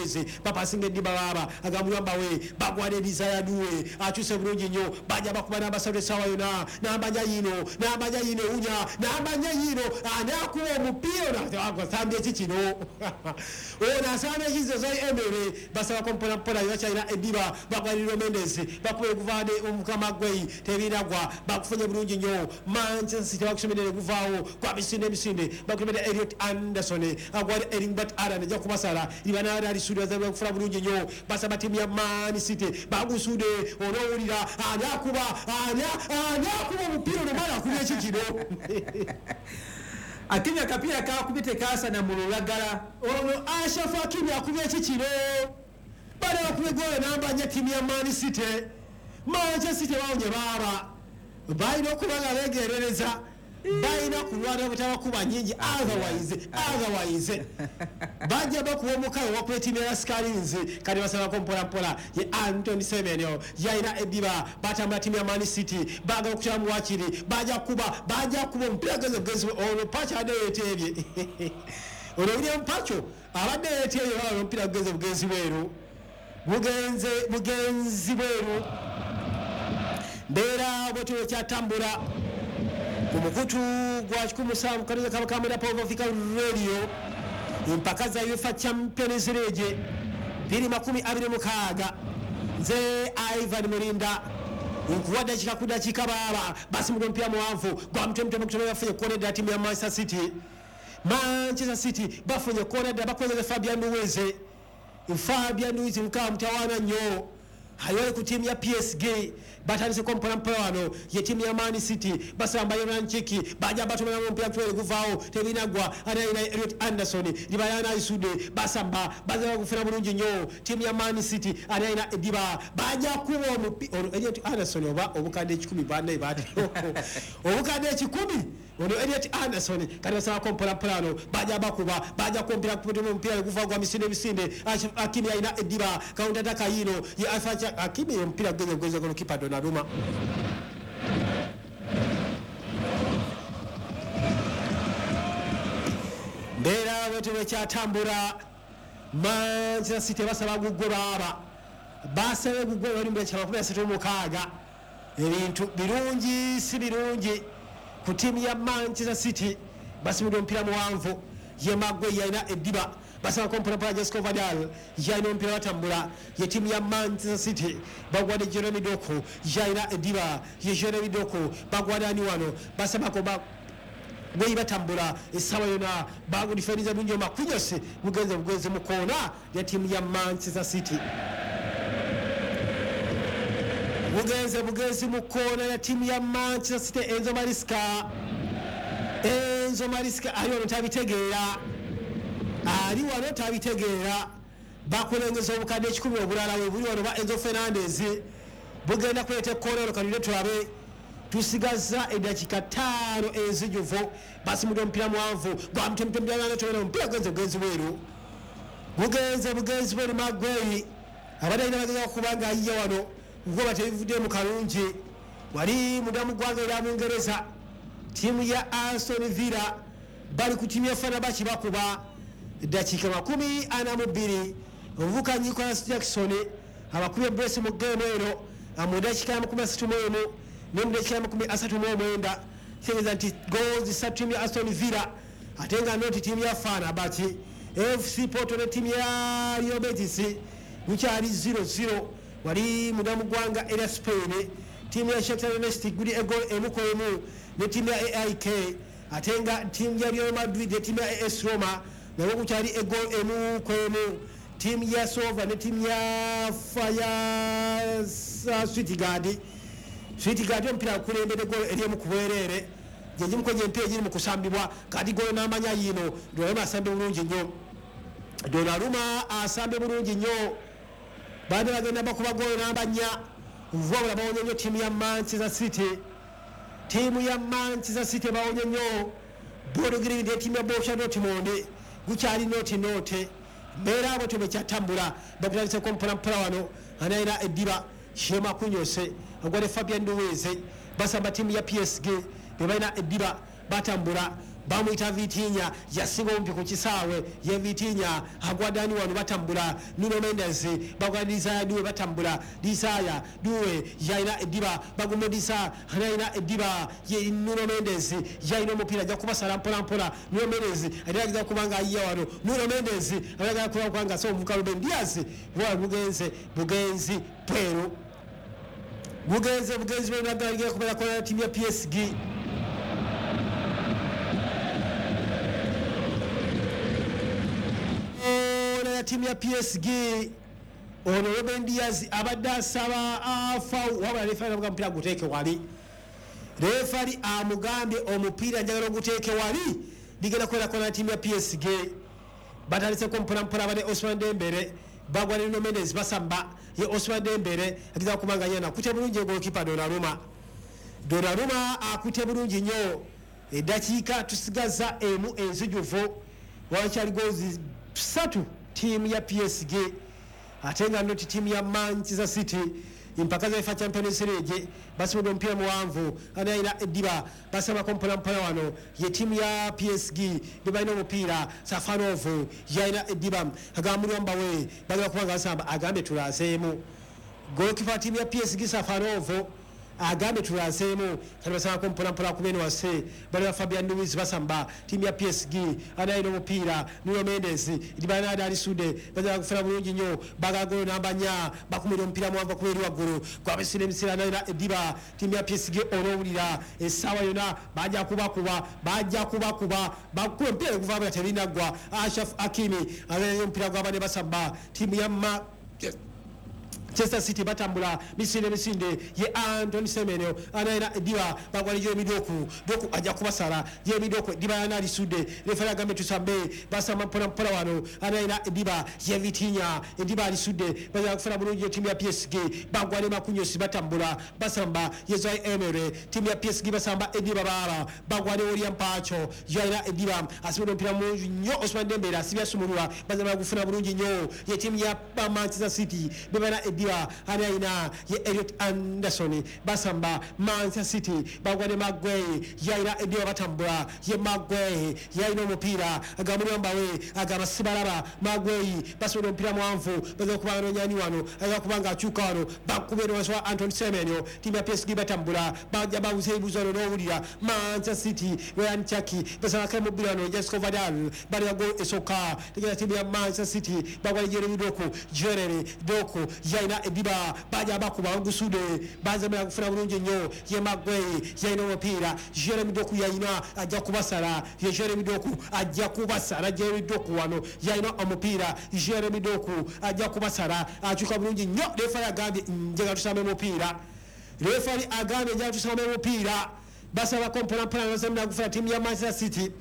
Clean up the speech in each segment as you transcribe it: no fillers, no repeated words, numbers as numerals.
Luiz bapasinga eddiba baaba agamuyambawe bagwana Desire Doue akyuse bulungi nnyo bajja bakuba n'abasatu essaawa yonna n'ambanya yino n'ambanya yino ewunya n'ambanya yino ani akuba omupiira ono asambye ki kino ono asambye ekizo Emere basabako mpola mpola bakyalina eddiba bagwaniriro Mendes bakuba eguvade omukama gwe tebinagwa bakufunye bulungi nnyo. Manchester City bakusomedde neguvaawo kwa misinde emisinde bakulembedde Elliot Anderson agwali Erling Haaland ajja kubasala libanada alisudde bazabula kufuna bulungi nnyo basaba ttiimu ya Man City bagusudde onoowulira ani akuba ani akuba omupiira ono mwana akubye eki kino Hakimi akapiira kakubye tekaasana mu lulagala. Ono Ashraf Hakimi akubye eki kino bale bakubye goolo namba nnya ttiimu ya Man City. Manchester City bawonye baaba balina okuba nga beegerereza balina kulwana butabakuba nyingi otherwise bajja bakuba omukago wakuba ettiimu ya Scarlets kati basabako mpola mpola ye Anthony Semenyo yalina eddiba batambula ttiimu ya Man City baagala okukyamu wakiri bajja kuba omupiira genze bugenzi ono Pacho abadde yeeteebye ono William Pacho abadde yeeteebye baba omupiira gugenze bugenzi bweru bugenze bugenzi bweru mbeera bwetyo kyatambula ku mukutu gwa 17 kabakamera Power Africa Radio empaka za UEFA Champions League 2026 nze Ivan Murinda nkuwa dakika ku dakika baaba basimudde omupiira muwanvu gwa mutwe mutwe bafunye kona ddala ttiimu ya Manchester City. Manchester City bafunye kona ddala bakozesa Fabian Ruiz. Fabian Ruiz mukama mutawaana nnyo ayole ku ttiimu ya PSG batandiseko mpola mpola wano ye ttiimu ya Man City basamba Yoranchiki bajja batumiramu omupiira twere guvaawo tebinagwa anayina Elliot Anderson libayana Isude basamba bazaba kufuna bulungi nnyo ttiimu ya Man City anayina eddiba bajja kuba omupiira ono Elliot Anderson oba obukadde 10 bannaye baati obukadde 10 ono Elliot Anderson kati basabako mpola mpola wano bajja bakuba bajja kumpira kupitia omupiira guvaawo gwa misinde misinde Hakimi alina eddiba counter attack yino ye Alpha Hakimi omupiira gugenze bugenzi golokipa Donnarumma. Mbeera bwetyo bwekyatambula Manchester City basaba gugwe baaba basabe gugwe bali mu dakika 36 ebintu birungi si birungi ku ttiimu ya Manchester City basimudde omupiira muwanvu ye Maguire yalina eddiba basabako mpola mpola Jessica Vidal yalina omupiira batambula ye ttiimu ya Manchester City bagwadde Jeremy Doku yalina eddiba ye Jeremy Doku bagwadde ani wano basabako gwe batambula essaawa yonna bagudifendiza bulungi Marquinhos bugenze bugenzi mu koona ya ttiimu ya Manchester City bugenze bugenzi mu koona ya ttiimu ya Manchester City. Enzo Maresca ali wano tabitegeera ali wano tabitegeera bakulengeza obukadde 10 obulala we buli wano ba Enzo Fernandez bugenda kuleeta ekkoona ono kanule tulabe tusigaza eddakiika 5 enzijuvu basimudde omupiira muwanvu gwa mutwe omupiira gugenze bugenzi bweru bugenze bugenzi bweru Maguire abadde alina bageza okuba nga ayiye wano ngoba tebivuddemu kalungi wali munda mu ggwanga erya Bungereza ttiimu ya Aston Villa bali ku ttiimu ya Fenerbahce bakuba eddakiika 42 omuvuka Nicolas Jackson abakubye brace mu geemu eno mu ddakiika 31 ne mu ddakiika 39 kitegeeza nti goals ssatu ttiimu ya Aston Villa ate nga noti ttiimu ya Fenerbahce. FC Porto ne ttiimu ya Real Betis gukyali 0-0 wali munda mu ggwanga erya Spain ttiimu ya Shakhtar Donetsk guli eggoolo 1-1 ne ttiimu ya AIK ate nga ttiimu ya Real Madrid ne ttiimu ya AS Roma nabo gukyali eggoolo 1-1 ttiimu ya Sova ne ttiimu ya Fire Stuttgart. Stuttgart omupiira gukulembedde eggoolo ery'emu ku bwereere gye gimu ku egyo emipiira egiri mu kusambibwa kati goolo n'amanya yiino Donnarumma asambye bulungi nnyo Donnarumma asambye bulungi nnyo baade bagenda bakuba goolo namba 4 wabula bawonye nnyo ttiimu ya Manchester City ttiimu ya Manchester City bawonye nnyo Bodo Glimt ne ttiimu ya Borussia Dortmund gukyali nooti noote mbeera bwetyo bwekyatambula bakutandiseko mpola mpola wano anayina eddiba Shema Kunyose agwadde Fabian Ruiz basamba ttiimu ya PSG be balina eddiba batambula Bamuyita Vitinha, yasinga obumpi ku kisaawe. Ye Vitinha agwadani wano, batambula. Nuno Mendes bagwa Desire Doue, batambula. Desire Doue yalina eddiba, baguma Disa yalina eddiba. Ye Nuno Mendes yalina omupiira, ajja kubasala mpola mpola. Nuno Mendes alageza kuba nga ayiya wano. Nuno Mendes alagala kuba nga so omuvuka Ruben Dias wala bugenze bugenzi pweru bugenze bugenzi bwenagala kubeera kola ttiimu ya PSG. Ona ya ttiimu ya PSG, ono Ruben Dias abadde asaba afa, wabula refa amuga omupiira guteeke wali. Refari amugambye omupiira njagala oguteeke wali, ligenda kubeera kola ttiimu ya PSG. Batandiseko mpolampola bane Ousmane Dembele, bagwa ne Nuno Mendes, basamba. Ye Ousmane Dembele ageza kubanga yana akute bulungi goalkeeper Donnarumma. Donnarumma akute bulungi nnyo. Eddakiika tusigaza emu enzijuvu, wakyali goals 3 ttiimu ya PSG, ate nga noti ttiimu ya Manchester City. Empaka za UEFA Champions League basimudde omupiira muwanvu, anayina eddiba, basabako mpola mpola wano. Ye ttiimu ya PSG be balina omupiira. Safanov yalina eddiba, agamba mbawe bagala kubanga basamba, agambye tulaseemu. Goalkeeper ttiimu ya PSG Safanov agambye tulaseemu. Kati basabako mpola mpola kubeni wase bali ba Fabian Ruiz, basamba ttiimu ya PSG. Anayina omupiira Nuno Mendes, Libanada alisude, bagala kufuna bulungi nnyo, bagala golo namba 4, bakumira omupiira muwanvu kuba eri waggulu gwabesira emisira. Anayina eddiba ttiimu ya PSG, olwowulira essaawa yonna bajja kubakuba, bajja kubakuba, bakuba omupiira guva tebinaggwa. Ashraf Hakimi anayina omupiira gwabane, basamba ttiimu ya Manchester City, batambula misinde misinde. Ye Anthony Semenyo anayina eddiba, bagwala Jeremy Doku. Doku ajja kubasala. Jeremy Doku eddiba yana alisudde, refari agambe tusambe. Basamba mpola mpola wano. Anayina eddiba ye Vitinha, eddiba alisudde, bagala kufuna bulungi ttiimu ya PSG. Bagwa ne Marquinhos, batambula, basamba. Ye Zaire Emery, ttiimu ya PSG basamba eddiba baaba, bagwa ne William Pacho yalina eddiba, asimudde omupiira mulungi nnyo. Ousmane Dembele asibye asumulula, bazamba gufuna bulungi nnyo. Ye ttiimu ya Manchester City bebana eddiba, anayina ye Elliot Anderson, basamba Manchester City, bagwa ne Maguire yalina eddiba, batambula. Ye Maguire yalina omupiira, agamba mbawe, agamba sibalaba. Maguire basobola omupiira muwanvu, bagala kuba anonyani wano, agala kuba nga akyuka wano, bakubera wansi wa Anthony Semenyo. Ttiimu ya PSG batambula, bajja babuza ebibuzo wano n'owulira Manchester City Ryan Cherki basaba kemubira wano. Josko Gvardiol bali go esooka tegera ttiimu ya Manchester City, bagwa Jeremy Doku. Jeremy Doku yalina eddiba, bajja bakuba bagusude, bazamira kufuna bulungi nnyo. Ye Maguire yalina omupiira, Jeremy Doku yalina, ajja kubasala. Ye Jeremy Doku ajja kubasala. Jeremy Doku wano yalina omupiira, Jeremy Doku ajja kubasala, akyuka bulungi nnyo. Refari agambye njagala tusambe mupiira. Refari agambye njagala tusambe mupiira. Basabako mpola mpola, bazamira kufuna ttiimu ya Manchester City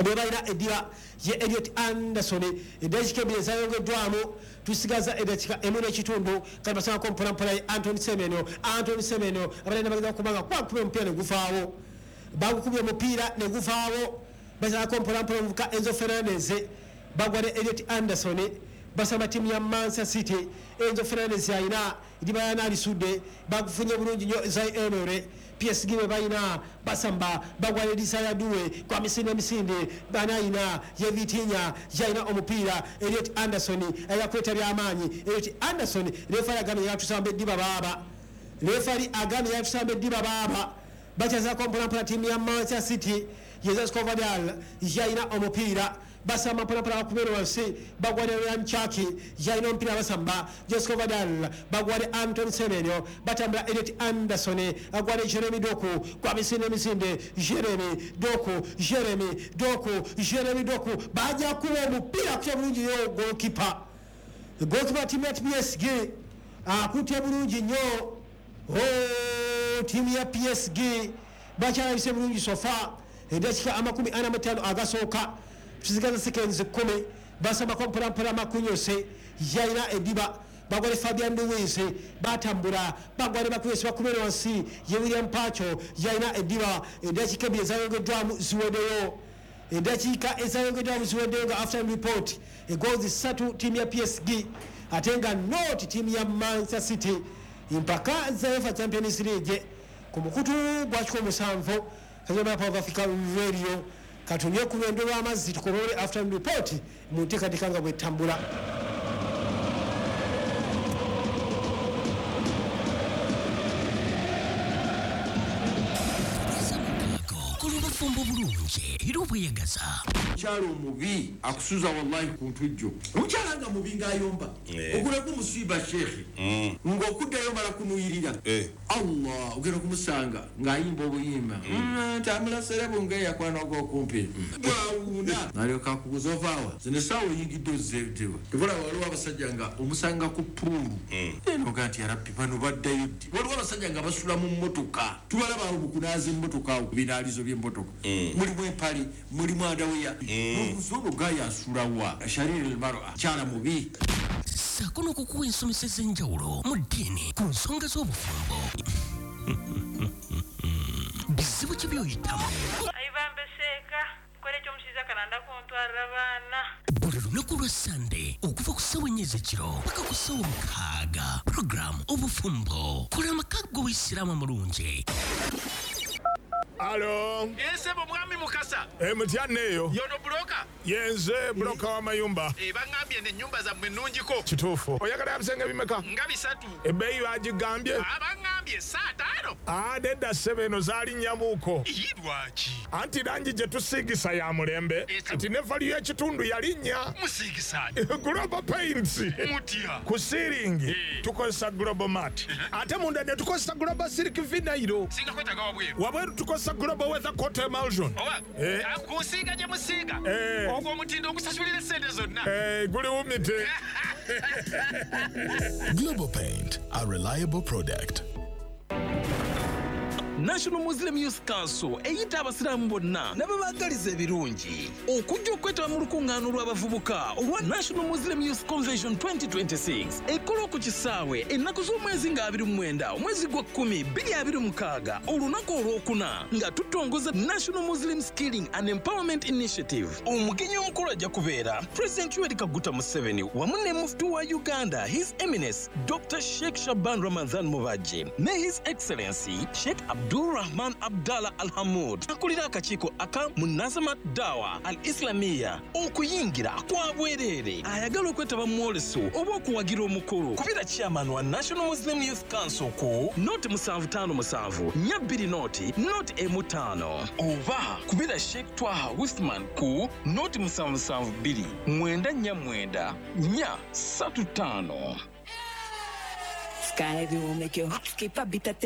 bwe balina eddiba ye Elliot Anderson. Eddakiika 2 ezayongeddwamu, tusigaza eddakiika 1.5. Kati basabako mpola mpola ye Anthony Semenyo. Anthony Semenyo abalina bageza kubanga kwakuba omupiira ne gufaawo, bagukubye omupiira ne gufaawo. Basabako mpola mpola omuvuka Enzo Fernandez, bagwa ne Elliot Anderson, basamba ttiimu ya Manchester City. Enzo Fernandez yalina eddiba yana alisudde, bagufunye bulungi nnyo Zaire Emery. PSG bwe balina basamba, bagwa ne Desire Doue kwa misinde misinde. Banayina ye Vitinha yalina omupiira. Elliot Anderson ayakweta byamaanyi. Elliot Anderson, refari agambye yatusamba eddiba baaba. Refari agambye yatusamba eddiba baaba. Bakyazako mpola mpola ttiimu ya Manchester City. Ye Josko Gvardiol yalina omupiira, basamba mpola mpola, bakubera wansi, bagwa ne Ryan Cherki yalina omupiira, basamba Josko Gvardiol, bagwa ne Anthony Semenyo, batambula. Elliot Anderson agwa ne Jeremy Doku kwa misinde misinde. Jeremy Doku, Jeremy Doku, Jeremy Doku bajja kuba omupiira kutya bulungi nnyo. Goalkeeper, goalkeeper ttiimu ya PSG akutya bulungi nnyo. Ttiimu ya PSG bakyalabise bulungi so far. Eddakiika 45 agasooka, tusigaza seconds 10. Basambako mpola mpola. Marquinhos yalina eddiba, bagwa ne Fabian Ruiz, batambula, bagwa ne Marquinhos, bakubera wansi ye William Pacho yalina eddiba. Eddakiika 2 ezayongeddwamu ziweddeyo, eddakiika ezayongeddwamu ziweddeyo nga half time report egoals 3 ttiimu ya PSG, ate nga not ttiimu ya Manchester City. Empaka za UEFA Champions League ku mukutu gwa 17 Kazoma Power Africa Radio. Katumye ku lwendo lw'amazzi tukomole afternoon report mu nteekateeka nga bwetambula. Obufumbo bulungi era obweyagaza. Omukyala omubi akusuza wallahi ku ntujjo. Omukyala nga mubi ng'ayomba, ogulako musiiba sheekhe, ng'okuddayo mala kunuyirira. Allah, ogenda kumusanga ng'ayimba obuyimba. Tambula serebu ng'eyakwana ogw'okumpi. Bwawuuna. N'alyoka akubuuza ovaawa. Zino essaawa oyingidde ozzeewa. Tebula waliwo abasajja nga omusanga ku puulu. Eno ga nti yarabbi bano baddayo ddi? Waliwo abasajja nga basula mu mmotoka. Tubalaba awo mu kunaaza emmotoka awo ku binaalizo by'emmotoka. Mulimu empale, mulimu andaweya. N'obuuza ono gaaya asula wa? Shariri al-mar'a, kyala mubi. Ssaako n'okukuwa ensomesa ez'enjawulo mu ddiini ku nsonga z'obufumbo. Bizibu ki by'oyitamu? Ayibambe seeka, nkola ekyomushiza kalanda kuntwarira abaana. Buli lunaku lwa Sande okuva ku ssaawa 4 ez'ekiro paka ku ssaawa 6, puroguramu Obufumbo, kola amaka g'Obuyisiraamu amulungi. Alo. Ensebo mwami Mukasa. Mutya neeyo. Yono buloka. Yenze buloka w'amayumba. Bangambye n'ennyumba zammwe nnungiko. Kituufu. Oyagala ebisenge bimeka? Nga 3. Ebbeeyi bagigambye? Bangambye 5. Nedda ssebo, eno zaalinnya-muko. Ii, lwaki? Anti langi gye tusiigisa ya mulembe. Kati ne value y'ekitundu yalinnya. Musiigisa? Global Paints. Mutya? Ku siiringi tukozesa Global Mat. Ate munda ne tukozesa Global Silk Vinyl. Singa kwetaaga wabweru. Wabweru tukozesa Global Weather Coat Emulsion. Oba kusiiga gye musiiga. Ogwo omutindo ogusasulira essente zonna. Guli wumite. Global Paint, a reliable product. National Muslim Youth Council eyita abasiraamu bonna n'ababaagaliza ebirungi okujja okwetaba mu lukuŋŋaano lw'abavubuka olwa National Muslim Youth Convention 2026 ekola ku kisaawe ennaku z'omwezi nga 29 omwezi gwa 10 2026, olunaku olwokuna, nga tutongoza National Muslim Skilling and Empowerment Initiative. Omugenyi omukulu ajja kubeera President Yoweri Kaguta Museveni wamu ne mufti wa Uganda, His Eminence Dr. Sheikh Shaban Ramadhan Mubajje, ne His Excellency Sheikh Abdul Rahman Abdallah Al Hamud, akulira akakiiko aka Munazamat Dawa Al Islamia. Okuyingira kwa bwereere. Ayagala okwetaba mu mwoleso oba okuwagira omukolo, kubira chairman wa National Muslim Youth Council ku 075 420 015, oba kubira Sheikh Twaha Usman ku 0772 949 435. Sky will make your heart skip a beat at